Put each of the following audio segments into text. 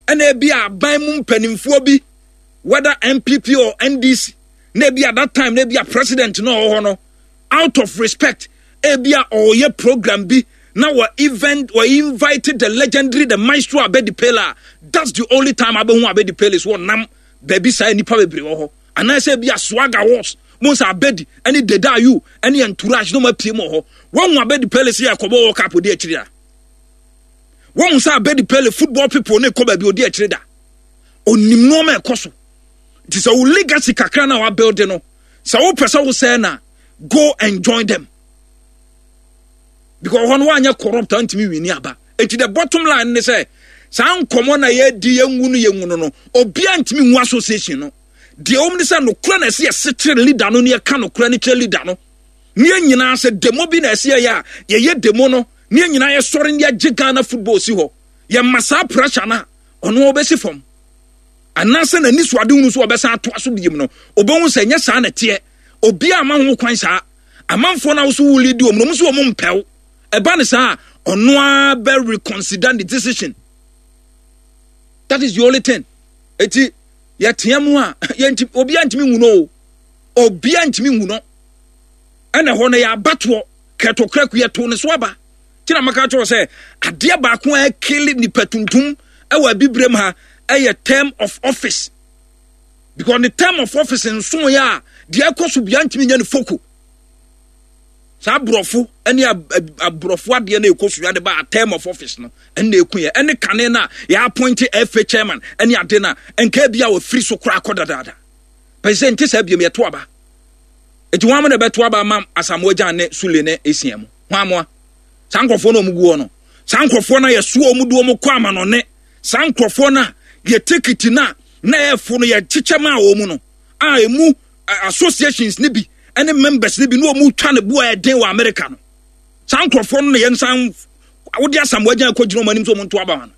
Ɛna ebi a aban mu mpanimfoɔ bi, whether NPP or NDC, na ebi at that time na ebi a president na ɔwɔ hɔ no, out of respect, ebi a ɔyɛ program bi na wɔ event wɔ invite the legendary, the maestro Abedi Pele. That's the only time abɛhu Abedi Pele so ɔnam baabi saa, nipa bebree wɔ hɔ, anaasɛ ebi a Swag Awards mo nsa Abedi ɛne Deda Ayew ɛne entourage na wɔn apue mu wɔ hɔ. Wɔn hu Abedi Pele sɛ yɛ kɔbɔ World Cup odi akyire a, wɔn hu sɛ Abedi Pele football people ne kɔ baabi odi akyire da. Onim nneɛma ɛkɔ so, nti sɛ wo legacy kakra na wa build no, sɛ wopɛ sɛ wosɛɛ na go and join them, because hɔ no wanyɛ corrupt a ntumi wini aba. Eti the bottom line ne sɛ saa nkɔmɔ na yɛdi yɛngu no yɛngu no no obiara ntumi ngu association no. Deɛ wɔn ne sɛ nokora na ɛsɛ yɛse kyerɛ leader no ne yɛka nokora ne kyerɛ leader no ne yɛn nyinaa sɛ demo bi na ɛsɛ yɛyɛ a, yɛyɛ demo no ne yɛn nyinaa yɛsɔre ne yɛgye Ghana football si hɔ. Yɛma saa pressure no a, ɔno ɔbɛsi fam anaasɛ n'ani so ade hunu so ɔbɛsan atoa so biem no, ɔbɛhu sɛ nyɛ saa na ɛteɛ. Obiara ama ho kwan saa amanfoɔ no a woso wo lead wɔn no, wɔn nso wɔn mpɛw ɛba ne saa, ɔno ara bɛ reconsider the decision. That is the only thing. Eti yɛteɛ mu a, yɛnti obiara ntumi nhu no o, obiara ntumi nhu no. Ɛna hɔ no yɛ abatoɔ kɛtɔkra ku yɛto ne so aba. Ti na maka kyerɛ sɛ adeɛ baako a ɛkele nipa tuntum ɛwɔ abibirem ha ɛyɛ term of office, because the term of office nso yɛ a, deɛ ɛkɔ so bia ntumi nyɛ ne foko. Saa aborɔfo ne aborɔfo adeɛ no ɛkɔ so yɛ de ba term of office no ɛna ɛku yɛ. Ɛne kane no a yɛ appoint FA chairman ɛne ade no a nka bi a wɔfiri so koraa kɔ dadaada pɛ sɛ nte saa biom. Yɛto aba nti wɔn na ɛbɛto aba ama Asamoah Gyan ne Sule ne Esia mu wɔn amoa saa nkurɔfoɔ no a wɔn gu hɔ no, saa nkurɔfoɔ no a yɛsoa wɔn de wɔn kɔ amanɔne, saa nkurɔfoɔ no a yɛ tekiti no a na ɛfo no yɛkyekyɛ maa wɔn no a emu associations no bi ne members no bi na wɔn twa ne bo a ɛden wɔ America no, saa nkurɔfoɔ no na yɛn nsan wode Asamoah Gyan kɔ gyina wɔn anim sɛ wɔn nto aba no.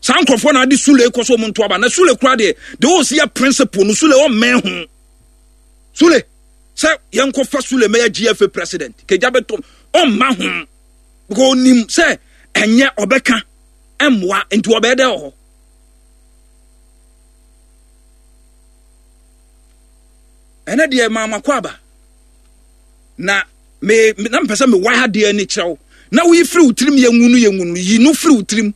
Saa nkurɔfoɔ na ade Sule kɔ so wɔn nto aba na Sule kura deɛ wɔsi yɛ principle no, Sule ɔmmɛn ho. Sule sɛ yɛnkɔfa Sule mɛyɛ GFA president kegya bɛtɔm, ɔmma ho because onim sɛ ɛnyɛ ɔbɛka mmoa nti ɔbɛyɛ dɛ wɔ hɔ. Ɛnɛ deɛ maama kɔ aba na me na mpɛ sɛ mewa adeɛ ani kyerɛ wo na woyi firi wo tirim. Yɛnwu no, yɛnwu no, yi no firi wo tirim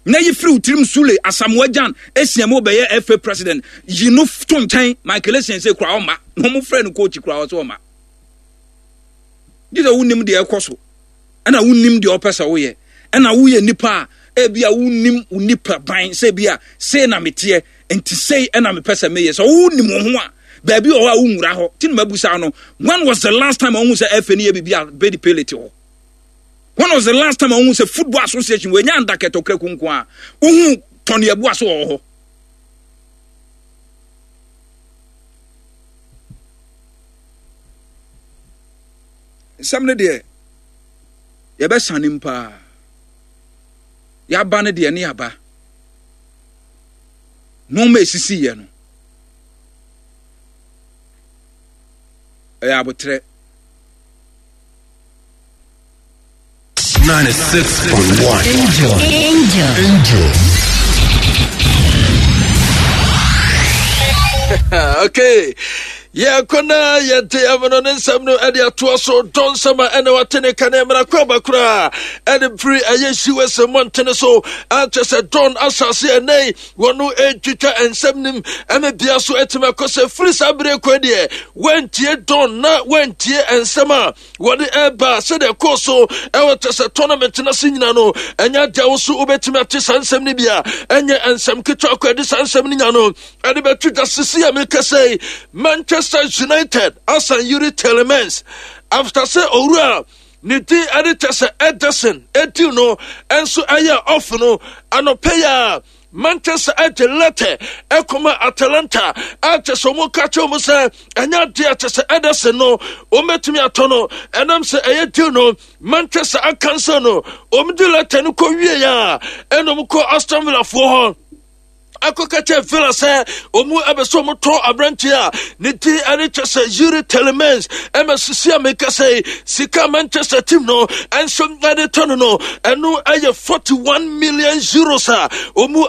na yi firi wo tirim. Sule Asamoah Gyan Esia mu bɛyɛ FA president, yi no to nkyɛn. Michael Essien sɛ kura ɔma na wɔn frɛ no coach kura ɔsɛ ɔma gye sɛ wonim deɛ ɛkɔ so ɛna wonim deɛ ɔpɛ sɛ woyɛ ɛna woyɛ nipa a ebi a wonim wo nipa ban sɛ ebi a sei na meteɛ nti sei ɛna mepɛ sɛ meyɛ. Sɛ wonim wo ho a, baabi wɔ hɔ a wonwura hɔ. Ti na mabusa no, when was the last time ɔhu sɛ FA no yɛ biribi a Bedi Pele te hɔ? When was the last time ɔhu sɛ football association wɔanya anda kɛtɔkra kunko a wohu tɔne abua so wɔ hɔ? Nsɛm no deɛ yɛbɛsane mu paa. Yɛaba no deɛ ne yɛaba nneɛma esisi yɛ no ɛyɛ abotrɛ. 96.1 Angel. Angel. Angel. Okay. Yɛkɔ na yɛde ɛmono ne nsɛm no ɛde atoa so. Dɔ nsɛm a ɛna wate ne ka ne mmara kɔ aba koraa ɛde firi ɛyɛ us mmɔntene so akyɛ sɛ dɔn asase ɛnɛ wɔno ɛtwitwa nsɛm nim ɛne bea so ɛtumi akɔ sɛ firi saa bere kɔ deɛ wɔntie dɔn na wɔntie nsɛm a wɔde ɛba sɛdeɛ ɛkɔɔ so ɛwɔ kyɛ sɛ tournament no ase nyina no, ɛnyɛ adeɛ wo so wobɛtumi ate saa nsɛm no bi a ɛnyɛ nsɛm ketewa kɔ ɛde saa nsɛm no nya no ɛde bɛto dwa. Sisi a mekasa yi, Manchester United asan Yuri Tielemans after sɛ owura ne din ɛde kyɛ sɛ Ederson ɛdiw no ɛnso ɛyɛ off no. Anɔpɛ yi a Manchester ɛde lɛtɛ ɛkɔma Atalanta a kyɛ sɛ wɔn ka kyerɛ wɔn sɛ ɛnyɛ adeɛ a kyɛ sɛ Ederson no wɔn bɛtumi atɔ no, ɛnam sɛ ɛyɛ deal no Manchester akansa no. Wɔn de lɛtɛ no kɔ wie a, ɛna wɔn kɔ Aston Villa foɔ hɔ akɔka kyerɛ Villa sɛ wɔn ɛbɛ sɛ wɔn tɔ aberanteɛ a ne din ɛne kyɛ sɛ Yuri Tielemans. Ɛma sisi a meka sɛ sika Manchester team no ɛnso ɛde tɔ no, ɛno ɛyɛ €41 million a wɔn